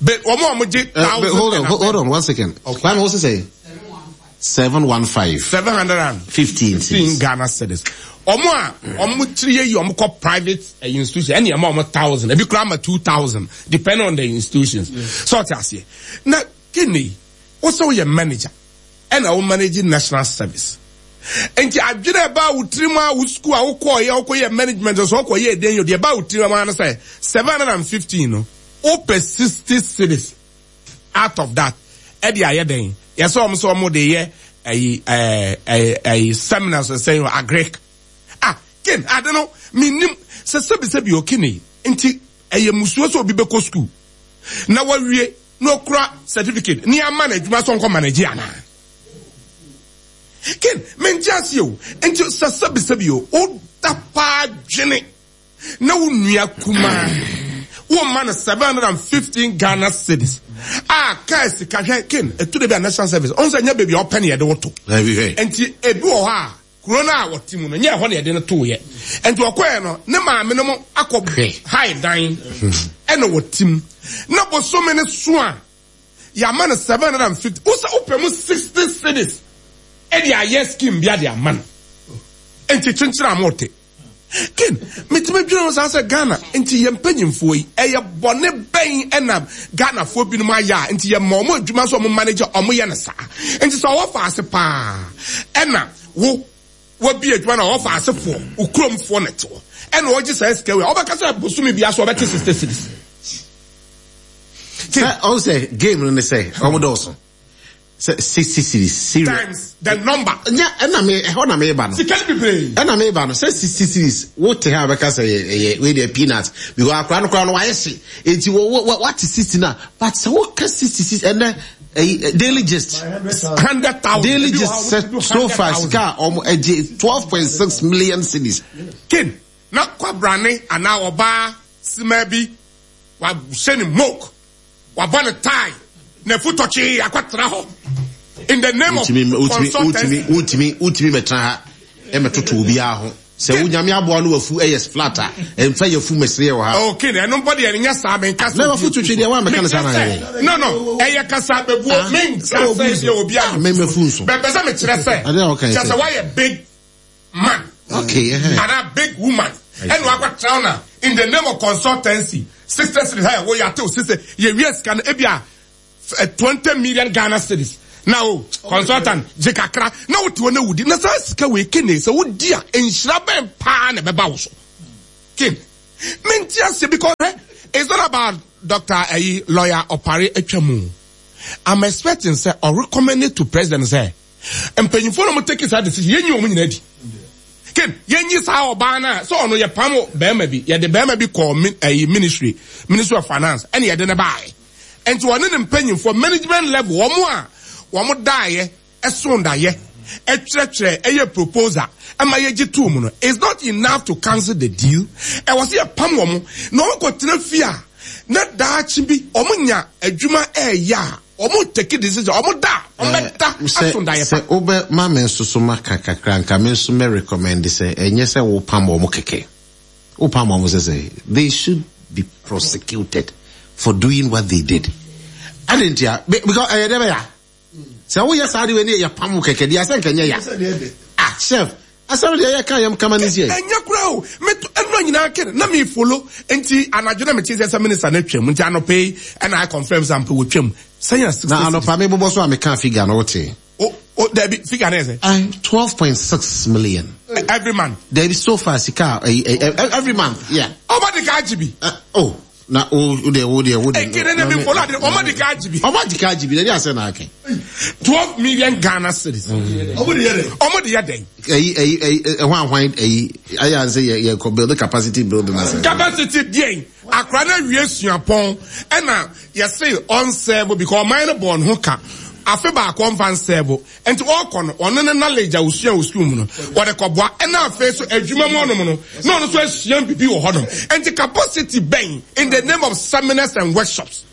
But ɔmo ɔmo gye thousand. Hold on hold on one second. Okay. Kwame what's it say? 715. 715 15 Ghana cedis. Ọmọ a ọmọ tiri yẹ yi ọmọ kọ private eh, institution ẹni ẹma ọmọ thousand ebi kura ama 2000 depending on the institutions. So ọtí aseɛ na kini wosɛ woyɛ manager ɛna wo manage national service nti adwene ɛbaa wo tirim a wo school a wokɔɔ yɛ wokɔ yɛ management so wokɔ yɛ ɛdɛn yɛ deɛ ɛbaa wo tirim a no sɛ 715 no wopɛ 60 cedis out of that ɛde ayɛ dɛn yɛsɛ wɔn sɛ wɔn de yɛ ɛyi ɛɛ ɛyi ɛyi seminars sɛ agric ah ken ade no menim sɛ sɛbisɛbi okene nti ɛyɛ musuo sɛ obi bɛkɔ school na wawie na okura certificate ne ama no adwuma sɛ ɔnkɔ manage anaa ken mente aseɛ o nti sɛ sɛbisɛbi o woda paa dwene na wo nua kumaa woma no 715 Ghana cedis a kaa sika hwɛ ken ɛtu de bi a national service ɔn sɛ nyɛ baabi a ɔpɛ ne yɛde wo to nti ebi wɔ hɔ a kuro no a wɔte mu no nyɛ ɛhɔ na yɛde no tooyɛ nti ɔkɔɛ no ne maame no mo akɔ hae dan ɛna wɔte mu na bosome no so a yɛama no 750 wosɛ wopɛ mu 60 cedis ɛde ayɛ scheme bi ade ama no nti kyenkyere a mote Ken, metumi dwene ho saa sɛ Ghana nti yɛn mpanyinfoɔ yi, ɛyɛ bɔne bɛn ɛna Ghanafoɔ binom ayɛ a nti yɛma wɔn adwuma sɛ wɔn manage wɔn yɛ no saa. Nti sɛ ɔwɔ faase paa ɛna wo wabi adwuma na ɔwɔ faasefoɔ, wo kuromfoɔ na ɛte hɔ ɛna ɔgye saa sika wei a, ɔbɛka sɛ bosome biara so ɔbɛte 60 cedis. Sɛ ɔn sɛ game no ne sɛ wɔn dɔɔso. Sɛ 60 cedis serious. Times the number. Nya ɛna me ɛhɔ na meba no. Sika no bebree. Ɛna meba no sɛ 60 cedis wo te ha bɛka sɛ ɛyɛ ɛyɛ wei deɛ peanut because akora no koraa no wayɛ hye eti wɔ wɔ wate 60 na but sɛ woka 60 cedis ɛnɛ. Ɛyi Daily Gist. 100,000. Daily Gist sɛ so far sika a wɔn agye 12.6 million cedis. Ken na kwabrane anaa ɔbaa sima bi wahyɛ ne moke wabɔ ne tie na efu tɔkyee akɔtena hɔ in the name of consultancy. Wotumi wotumi mɛtena ha ɛmɛtoto obiara ho sɛ wo nyame aboa no wafu ɛyɛ flat a ɛmfa yɛfu mɛsere wɔ ha. Okay na ɛno mbɔ deɛ ɛnyɛ saa menka sɛ na wafu twitwi deɛ woamɛka no saa na ayɛ no no ɛyɛ kasa bɛbuo menka sɛ deɛ obi a mɛmɛfu nso bɛpɛ sɛ mekyerɛ sɛ kyerɛ sɛ woayɛ big man okay anaa big woman ɛna wakɔtena na in the name of consultancy sister cedis ɛ woyɛ atew sister yɛwie sika no ebi a 20 million Ghana cedis na o consultant gye kakra na wote hɔ na wodi na saa sika wei kene sɛ wodi a nhyira bɛn paa na ɛbɛba wo so ken mente aseɛ because eh, it's not about Dr. ayi lawyer Opare atwa mu I'm expecting sɛ ɔrecommend to president sɛ mpanyinfoɔ na wɔn take saa decision yɛnyi wɔn nyinaa di ken yɛnyi saa ɔbaa no a sɛ ɔno yɛ pam bɛrima bi yɛde bɛrima bi kɔɔ ɛyi ministry ministry of finance ɛna yɛde ne baayɛ nti wɔne ne mpanyinfoɔ management level wɔn a wɔn daayɛ ɛso daayɛ ɛtwerɛtwerɛ ɛyɛ proposal ɛma yɛgye tuu mu no it's not enough to cancel the deal ɛwɔ sɛ yɛ pam wɔn na wɔn kɔ tena fie a na daakye bi wɔn nya adwuma ɛɛyɛ a. Ɔmo take decision, ɔmo da a, ɔmo bɛ da aso daeɛ pa. Sɛ wo bɛ ma me nso so ma ka kakra nka me nso mɛ recommend sɛ ɛnyɛ sɛ wo pam ɔmo kɛkɛ. Wo pam ɔmo sɛ sɛ they should be prosecuted for doing what they did. Ade ntia because ɛyɛ dɛ bɛ ya. Sɛ wo yɛ saa de wei ne yɛ pam wo kɛkɛ deɛ asɛ nka nyɛ ya. Ah chef Asɛm deɛ yɛ ka yɛm kama ne siɛ. Ɛnyɛ koraa o, me to ɛnura nyinaa kɛ na me follow nti anadwo na me te sɛ sɛ minister no atwam nti anɔpa yi ɛna I confirm sɛ ampa wɔtwam sɛn a 60 Na anɔpa me bobɔ so a me kaa figure no wote. O o dabi figure no yɛ sɛ. Ae 12.6 million. Every month. Dabi so far sika a every month yeah. Ɔmo de ka agye bi. Oh na o o deɛ o deɛ o deɛ. Ekele na mi follow adi ɔmo de ka agye bi. Ɔmo de ka agye bi na ɛdi asɛ na akɛ. 12 million Ghana cedis. Ɔmo de yɛ dɛ. Ɔmo de yɛ dɛ. Ɛyi ɛyi ɛyi ɛho ahwan ɛyi ayɛ anse yɛ yɛ kɔ build capacity building ase. Capacity deɛ akora na wie suapɔn ɛna yɛse ɔnsɛɛbo because ɔman no bɔɔ ne ho ka afe baako ɔmfa nsɛɛbo Nti ɔkɔ no, ɔno ne knowledge a osua wɔ sukuu mu no, wɔde kɔboa. Ɛna afei so adwuma mu ɔnom no, na ɔno nso asua biribi wɔ hɔnom. Nti capacity bɛn in the name of seminars and workshops?